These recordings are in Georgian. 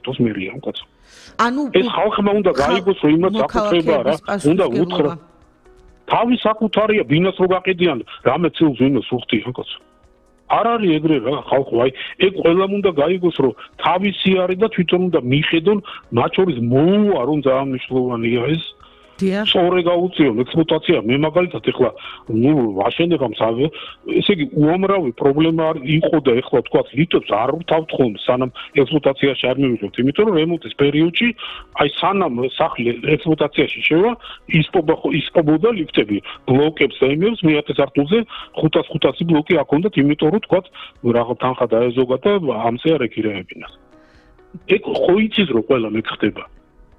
თოს მერია კაცო. ანუ ეს ხალხმა უნდა გაიგოს, რომ იმას საკუთრება რა, უნდა უთხრა. თავი საკუთარია, ბინას რო გაყიდიან, რამე ცილს ვინოს უხდიან კაცო. არ არის ეგრე რა ხალხო, აი ეგ ყველამ უნდა გაიგოს, რომ თავისი არის და თვითონ უნდა მიხედონ, მათ შორის მოუვა რომ ძალიან მნიშვნელოვანია ეს. სწორე გაუწიონ ექსპლუატაცია. მე მაგალითად ეხლა ვაშენებამს ესე იგი უამრავი პრობლემა იყო და ეხლა თქვა ლიტვებს არ ვთავთ ხოლმე სანამ ექსპლუატაციაში არ მივიღებთ, იმიტომ რომ რემონტის პერიოდში აი სანამ სახლი ექსპლუატაციაში შევა ისპობოდა ლიფტები ბლოკებს და იმებს მე-10 სართულზე 500 ბლოკი აქ უნდათ, იმიტომ რომ თქვა რაღაც თანხა დაეზოგა და ამზე არ ეკირეებინათ. ეგ ხო იცის რომ ყველა მეკხდება.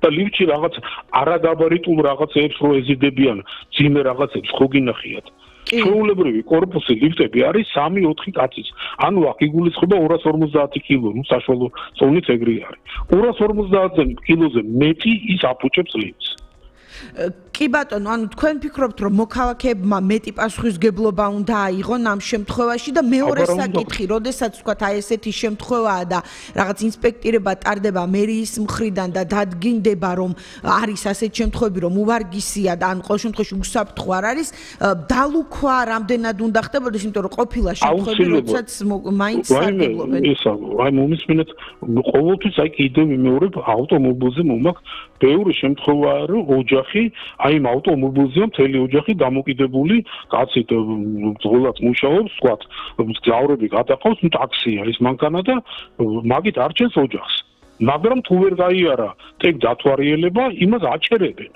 და ლიფტში რაღაც არაგაბარიტულ რაღაცებს რო ეზიდებიან, ძიმე რაღაცებს ხო გინახიათ. ჩვეულებრივი კორპუსი ლიფტები არის 3-4 კაცის. ანუ აქ იგულისხმება 250 კილო, ნუ საშუალო წონით ეგრე არის. 250 კილოზე მეტი ის აფუჭებს ლიფტს. კი ბატონო, ანუ თქვენ ფიქრობთ, რომ მოქალაქეებმა მეტი პასუხისმგებლობა უნდა აიღონ ამ შემთხვევაში და მეორე საკითხი, როდესაც ვთქვათ, აი ესეთი შემთხვევაა და რაღაც ინსპექტირება ტარდება მერიის მხრიდან და დადგინდება, რომ არის ასეთი შემთხვევები, რომ უვარგისია და ან ყოველ შემთხვევაში უსაფრთხო არ არის, დალუქვა რამდენად უნდა ხდებოდეს, იმიტომ რომ ყოფილა შემთხვევები, როდესაც მაინც სარგებლობენ. აი მომისმინეთ, ყოველთვის აი კიდევ ვიმეორებ, ავტომობილზე მომაქვს ბევრი შემთხვევაა, რომ ოჯახი აი იმ ავტომობილზეა მთელი ოჯახი დამოკიდებული, კაცი ძღოლად მუშაობს, ვთქვათ, გზავრები გადაყავს, ნუ ტაქსია ის მანქანა და მაგით არჩენს ოჯახს. მაგრამ თუ ვერ გაიარა ტექ დათვარიელება, იმას აჩერებენ.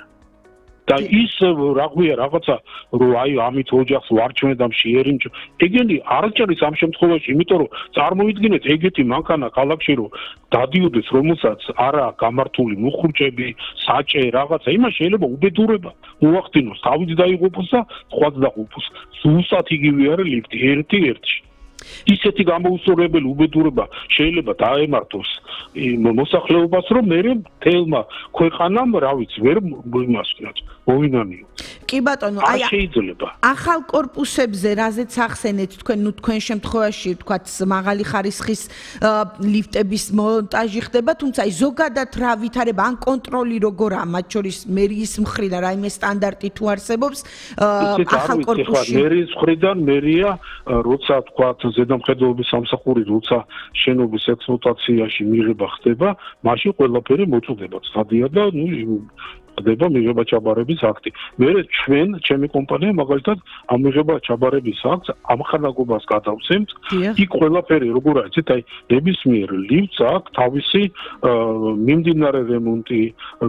და ის რაგვია რაღაცა, რომ აი ამით ოჯახს ვარჩევენ და შეერინჯო. ეგენი არ ჭერის ამ შემთხვევაში, იმიტომ რომ წარმოიდგინეთ ეგეთი მანქანა ქალაქში რომ დადიოდეს, რომელსაც არა გამართული მუხრუჭები, საჭე, რაღაცა, იმას შეიძლება უბედურება მოახდინოს, თავით დაიღუპოს და სხვაც დაიღუპოს. ზუსტად იგივე არის ლიფტი, ერთი-ერთში. ისეთი გამოუსწორებელი უბედურება შეიძლება დაემართოს მოსახლეობას, რომ მე მთელმა ქვეყანამ, რა ვიცი, ვერ იმასკნათ, მოვინანიო. კი ბატონო, აი შეიძლება. ახალ კორპუსებზე, რაზეც ახსენეთ თქვენ, ნუ თქვენ შემთხვევაში, თქვათ, მაღალი ხარისხის ლიფტების მონტაჟი ხდება, თუმცა აი ზოგადად რა ვითარება, ან კონტროლი როგორაა, მათ შორის მერიის მხრიდან, რაიმე სტანდარტი თუ არსებობს ახალ კორპუსში. მერიის მხრიდან მერია, როცა თქვათ ზედამხედველობის სამსახური, როცა შენობის ექსპლუატაციაში მიღება ხდება, მაშინ ყველაფერი მოწუდება, ცხადია და ნუ ხდება მიღება ჩაბარების აქტი. მე ჩემი კომპანია მაგალითად ამ მიღება ჩაბარების აქტს ამხანაგობას გადავცემთ. იქ ყველაფერი როგორ არის, აი ნებისმიერ ლიფტს აქვს თავისი მიმდინარე რემონტი,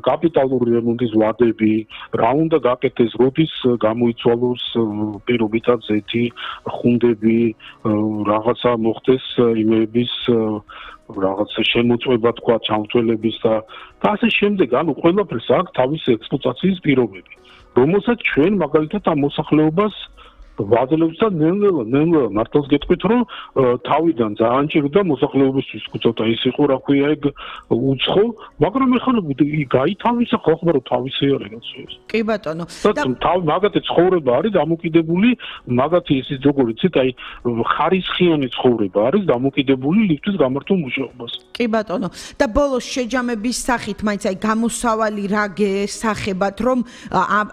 კაპიტალური რემონტის ვადები, რა უნდა გაკეთდეს, როდის გამოიცვალოს პირობითად ზეთი, ხუნდები, რაღაცა მოხდეს იმების რაღაც შემოწმება თქვა ჩამთველების და ასე შემდეგ, ანუ ყველაფერს აქვს თავისი ექსპლუატაციის პირობები, რომელსაც ჩვენ მაგალითად ამ მოსახლეობას ვაძლევს და ნელ-ნელა მართლაც გეტყვით, რომ თავიდან ძალიან ჭირდა მოსახლეობისთვის უცოტა ის იყო, რა ქვია, ეგ უცხო, მაგრამ ეხლა გაითავისა ხალხმა, რომ თავისი არის ეს. კი ბატონო. და მაგათი ცხოვრება არის დამოკიდებული, მაგათი ისიც როგორ იცით, აი ხარისხიანი ცხოვრება არის დამოკიდებული ლიფტის გამართულ მუშაობას. კი ბატონო. და ბოლოს შეჯამების სახით, მაინც აი გამოსავალი რა გესახებათ, რომ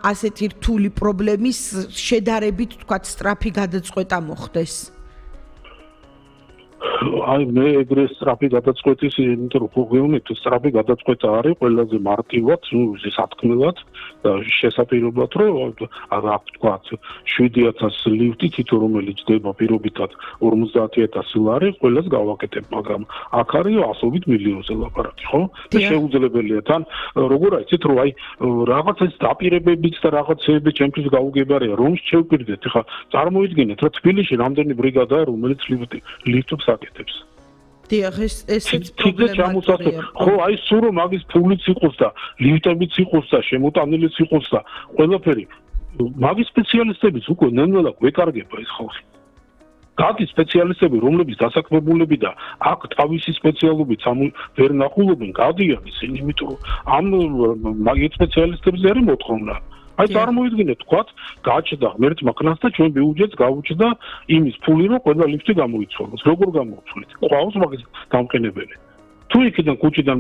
ასეთი რთული პრობლემის შედარებით სწრაფი გადაწყვეტა მოხდეს. აი მე ეგრე სწრაფი გადაწყვეტის, იმიტომ რომ გეუბნით, სწრაფი გადაწყვეტა არის ყველაზე მარტივად, ნუ სათქმელად და შესაძლებლად, რომ აქ თქვა 7000 ლიფტი თითო რომელიც დება პირობითად 50000 ლარი, ყველას გავაკეთებ, მაგრამ აქ არის ასობით მილიონზე ლაპარაკი, ხო? და შეუძლებელია თან როგორ აიცით, რომ აი რაღაცას დაპირებებით და რაღაცეები ჩემთვის გაუგებარია, რომ შევკვირდეთ, ხა წარმოიდგინეთ, რომ თბილისში რამდენი ბრიგადაა, რომელიც ლიფტებს აკეთებს. დიახ, ესეც პრობლემაა. ხო, აი სულ რომ მაგის ფულიც იყოს და ლიფტებიც იყოს და შემოტანილიც იყოს და ყველაფერი, მაგის სპეციალისტებიც უკვე ნელ-ნელა გვეკარგება ეს ხალხი. გადის სპეციალისტები, რომლებიც დასაქმებულები და აქ თავისი სპეციალობით ვერ ნახულობენ, გადიან ისინი, იმიტომ რომ ამ მაგის სპეციალისტებზე არის მოთხოვნა. აი წარმოიდგინეთ, თქვათ, გააჩნდა ღმერთმა ქნას და ჩვენ ბიუჯეტს გავუჭდა იმის ფული, რომ ყველა ლიფტი გამოიცვალოს. როგორ გამოუცვლით? ყავს მაგის დამყენებელი. თუ იქიდან კუჭიდან